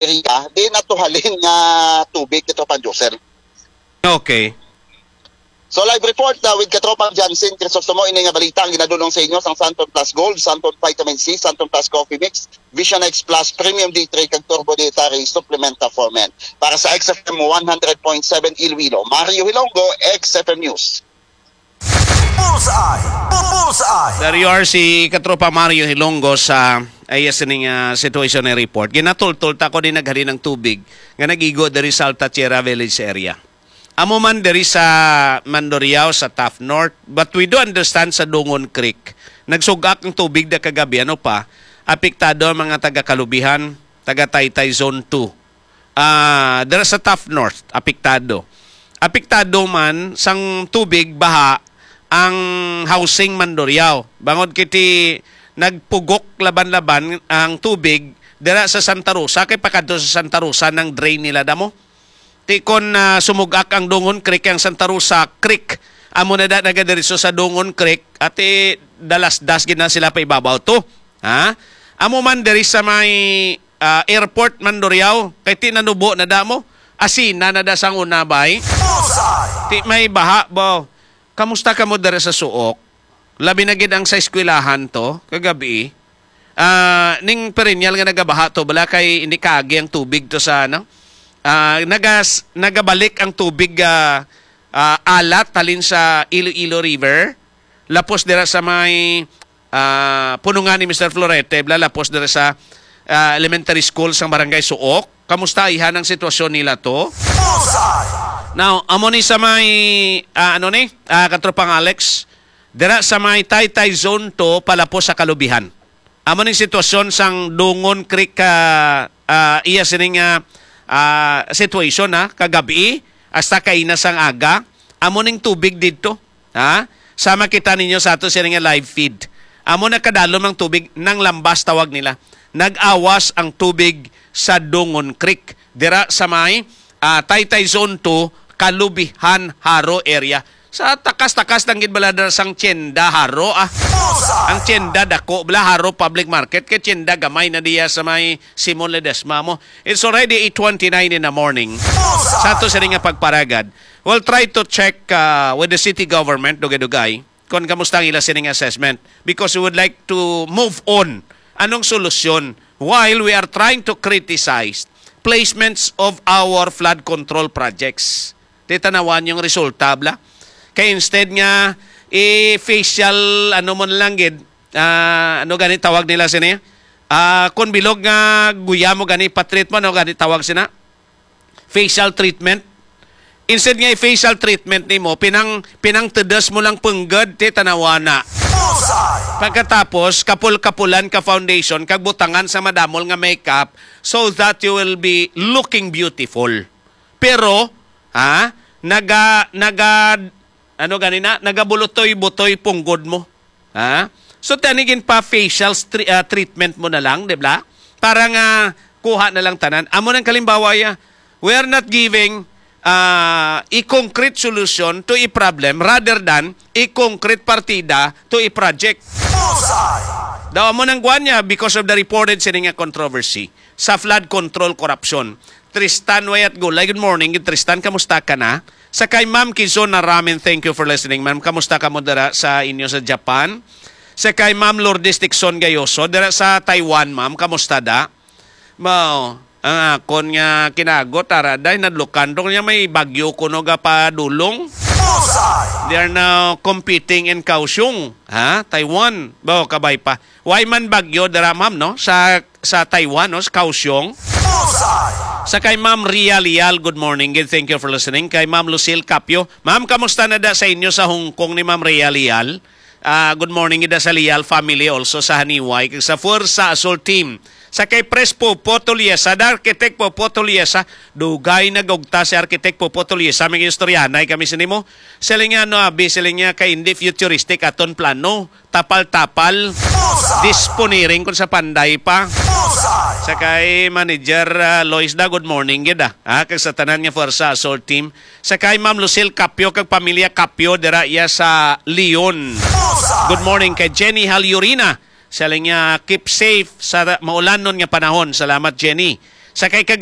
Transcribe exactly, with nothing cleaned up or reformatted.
area, di natuhalin nga tubig, Katropang Josel. Okay. So, live report na with Katropang Jansen Crisostomo, ini nga balita ang ginadulong sa inyo sang Santon Plus Gold, Santon Vitamin C, Santon Plus Coffee Mix, Vision X Plus, Premium D three, kag Turbo Dietary Supplementa for Men. Para sa X F M one hundred point seven Iloilo, Mario Hilongo, X F M News. Bullseye! Bullseye! There you are, si Katropa Mario Hilonggo sa ayas sining ah, situation and report. Ginatultol ta ko din naghalin ang tubig nga nagigo diri sa Alta Tierra Village area. Amo man diri sa Mandurriao, sa Taft North, but we do understand sa Dungon Creek. Nagsugak ang tubig da kagabi, ano pa, apektado ang mga taga Kalubihan, taga Taytay Zone two. Ah, dira sa Taft North, apektado. Apektado man sang tubig, baha, ang housing Mandurriao. Bangod kiti nagpugok laban-laban ang tubig dira sa Santa Rosa, kay pakadto sa Santa Rosa nang drain nila damo. Ti kon ah, sumugak ang Dungon Creek, ang Santa Rosa Creek, amo na da nagadiretso sa Dungon Creek, ati dalasdas gid na sila pa ibabaw to. Ha? Amo man diri sa may ah, airport Mandurriao, kay ti nanubo na damo. Asina na da sang una, bay. Bullseye! Ti may baha, bo. Kamusta kamo diri sa Suok? Labi na gid ang sa eskwelahan to, kagabi. Ah, ning perennial nga nagabaha to, bala kay hindi kaagi ang tubig to sa, ano? Ah, nagas, nagabalik ang tubig ah, ah, alat halin sa Iloilo River. Lapos dira sa may ah, punungan ni Mister Florete, bala lapos dira sa ah, elementary school sang Barangay Suok. Kamusta ihan ang sitwasyon nila to? Bullseye! Now, amo ni sa may, ah, ano ni, ah, Katropang Alex, dira sa may Taytay Zone two, palapos sa Kalubihan. Amo ning sitwasyon sang Dungon Creek, ah, ah, iya sining ah, ah, situation, ha, kagabi hasta kaina sang aga. Amo ning tubig didto, ha? Sama kita ninyo sa ato sining nga live feed. Amo nakadalom ang tubig, nang lambas tawag nila. Nag-awas ang tubig sa Dungon Creek dira sa may ah, Taytay Zone two, Kalubihan, Jaro area. Sa takas-takas lang gid bala dira sang tienda Jaro, ah. Ang tienda dako bala, Jaro Public Market, kay tienda gamay na diya sa may Simon Ledesma mo. It's already eight twenty-nine in the morning. Sa ato sini nga pagparagad, we'll try to check ah, with the city government, dugay-dugay, kung kamusta ang ila sining assessment, because we would like to move on. Anong solusyon while we are trying to criticize placements of our flood control projects? Titanawan yung resulta, bla. Kay instead nga i-facial, ano mo na lang gid, ah, ano gani tawag nila sini? Ah, kung bilog nga guya mo gani, patreat mo, ano gani tawag sina? Facial treatment. Instead nga i-facial treatment nimo, pinang pinangtedes mo lang punggod, ti tanawana. Bullseye! Pagkatapos, kapul-kapulan ka foundation, kag butangan sa madamol nga makeup, so that you will be looking beautiful. Pero, ha, naga naga ano gani na, nagabulotoy-butoy punggod mo. Ha? So, tani gin pa facial stri- ah, treatment mo na lang, di ba? Para nga kuha na lang tanan. Amo nang kalimbawa ya, we are not giving ah, a concrete solution to a problem rather than a concrete partida to a project. Bullseye! Daw amo nang guwan niya because of the reported sini nga controversy sa flood control corruption. Tristan Wayat Gulay, good morning. Tristan, kamusta ka na? Sa kay Ma'am Kizuna Ramen, thank you for listening, ma'am. Kamusta ka mo dira sa inyo sa Japan? Sa kay Ma'am Lourdes Dixon Gayoso, dira sa Taiwan, ma'am. Kamusta da? Mao, ang akon nga kinagot, ara, day, nadlukan to niya may bagyo kuno ga padulong. Bullseye! They are now competing in Kaohsiung, ha? Taiwan. Bao, kabay pa. Why man bagyo dira, ma'am, no? Sa sa Taiwan, no? Sa Kaohsiung. Bullseye! Sa kay Ma'am Ria Lial, good morning. Good, thank you for listening. Kay Ma'am Lucille Capio. Ma'am, kamusta na da sa inyo sa Hong Kong ni Ma'am Ria Lial? Ah, good morning, ida sa Lial family, also sa Haniway, kag sa Fuerza Azul Team. Sa kay Pres Popo Toliesa, da Architect Popo Toliesa, dugay nagugta si Architect Popo Toliesa, may istoryahanay kami sa nimo. Siling nga, no, abi, siling nga, kay hindi futuristic aton plano. Tapal-tapal. Disponiring kung sa panday pa. Sa kay Manager ah, Lois da, good morning gid ah. Ah, kag sa tanan nga Fuerza Azul Team. Sa kay Ma'am Lucille Capio kag pamilya Capio dira iya sa Leon. Good morning kay Jenny Halyurina. Siling niya, keep safe sa maulanon nga panahon. Salamat, Jenny. Sa kay ka